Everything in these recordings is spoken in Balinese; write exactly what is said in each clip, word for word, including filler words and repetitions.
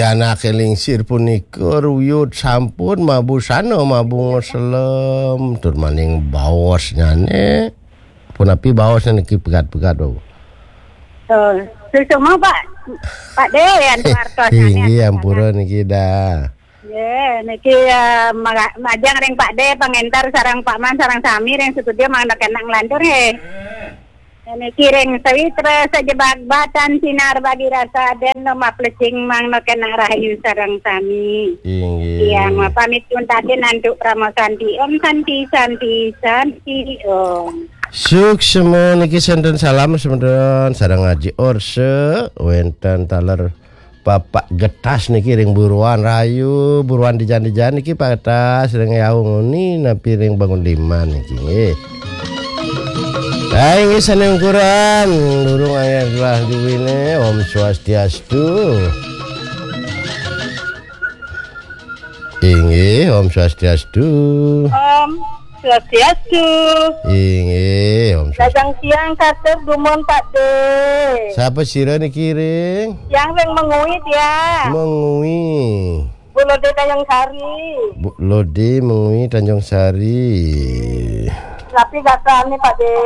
Anake lingsir punika ruyut sampun mabusana, mabunga selem, tur maning baosnyane. Punapi baosnya niki pegat-pegat, Bapak? Oh, suksma, Pak. Pak De, antuk artosnyane. Inggih, ampura niki dah. Nggih, niki, eh, maga-, majeng ring Pak De, pangenter sareng Pak Man, sareng sami ring studio, mangda kenak nglantur nggih. Niki ring Sawitra sajebag batan sinar bagi rasa den no maplecing mangda kenak rahayu sareng sami. Inggih. Tiang mapamit untatin antuk Parama Santi. Om Santi, Santi, Santi, Om. Suksma niki senten salam semeton sareng Aji Orse, wenten taler Bapak Getas niki ring Buruan Rayu, Buruan Dijan-Dijan niki Pak Getas ring Yaung Uni napi ring Bangun Diman niki nggih. Hai nggih sane ungkuran, durung anggen gelah duwine, Om Swastiastu. Inggih, Om Swastiastu. Om Swastiastu. Inggih, Om Swastiastu. Lajeng tiang katur dumun, Pak De. Sapa sira niki ring? Tiang ring Mengwi, tiang. Mengwi. Bu Lode Tanjung Sari. Bu Lode Mengwi Tanjung Sari. Napi gatrane, Pak De?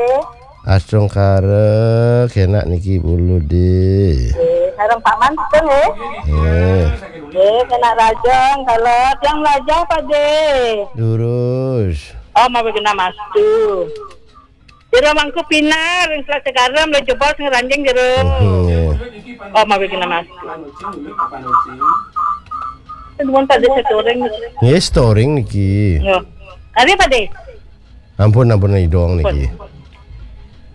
Astungkara kenak niki Bu Lode. Nggih, sareng Pak Man pun nggih. Nggih. Nggih, kenak rajang, kalau tiang melajah, Pak De. Durus. Oh, mawi genah mastu. Jero mangku pinar, ring Selat Garam, lo jebol sing ranjing jero. Mhm, nggih. Oh, mawi genah mastu. Nuwun, Pak De, setoring. Nggih, setoring niki. Yo. Ari, Pak De? Ampun, ampun, idong niki.